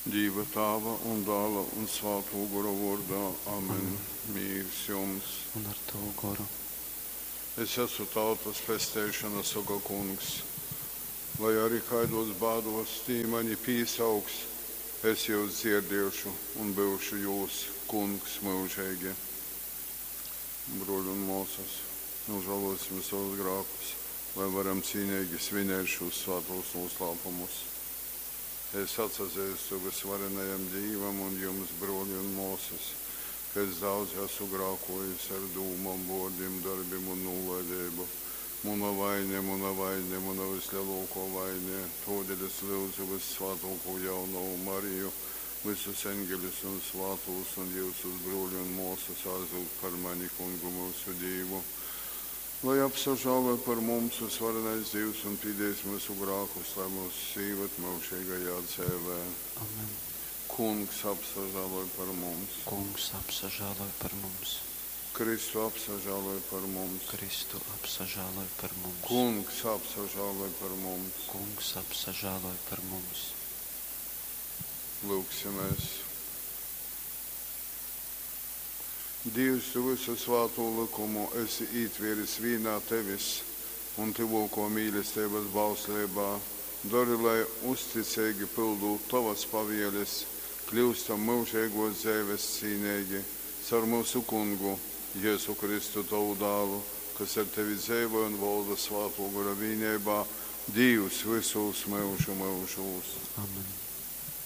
Dīva Tāva un Dāla un Svātō Gora vōrdā. Amen. Mīrs jums! Un ar tavu goru. Es esmu tautas pesteišona, soka Kungs. Lai ari kaidōs bādōs tī mani pīsauks, es jūs dzierdiešu un byušu jūs Kungs myužeigi. Brōļi un mōsas, nūžālōsim sovus grākus, lai varam cīneigi svinēt šūs svātūs nūslāpumus. Es atsazeistu vysvarenajam Dīvam un jums, brōli un mōsas, ka es daudzi asu grākōjis ar dūmom, vōrdim, dorbim un nūlaideibu. Muna vaine, muna vaine, muna vyslelōkō vaine. Tōdēļ es lyudzu vyssvātōkū Jaunovu Mariju, vysus eņgeļus un svātūs un jyusus, brōli un mōsas, aizlyugt par mani Kungu myusu Dīvu. Lai apsažāloj par mums vysvarenais Dīvs un pīdīs myusu grākus, lai myus īvad myužeigajā dzeivē. Amen. Kungs apsažāloj par mums. Kungs apsažāloj par mums. Kristu apsažāloj par mums. Kristu apsažāloj par mums. Kungs apsažāloj par mums. Kungs apsažāloj par mums. Lūgsimies. Dievs, tu visu svāto likumu esi ītvēris vīnā tevis un tyvōkō mīlesteibas bausleibā. Dori, lai, uzticeigi pyldūt tovas pavieles, kļyustam myužeigōs dzeives cīneigi. Caur myusu Kungu, Jezu Kristu, tovu Dālu, kas ar tevi dzeivoj un volda Svātō Gora vīneibā, Dīvs vysūs myužu myužūs. Amen.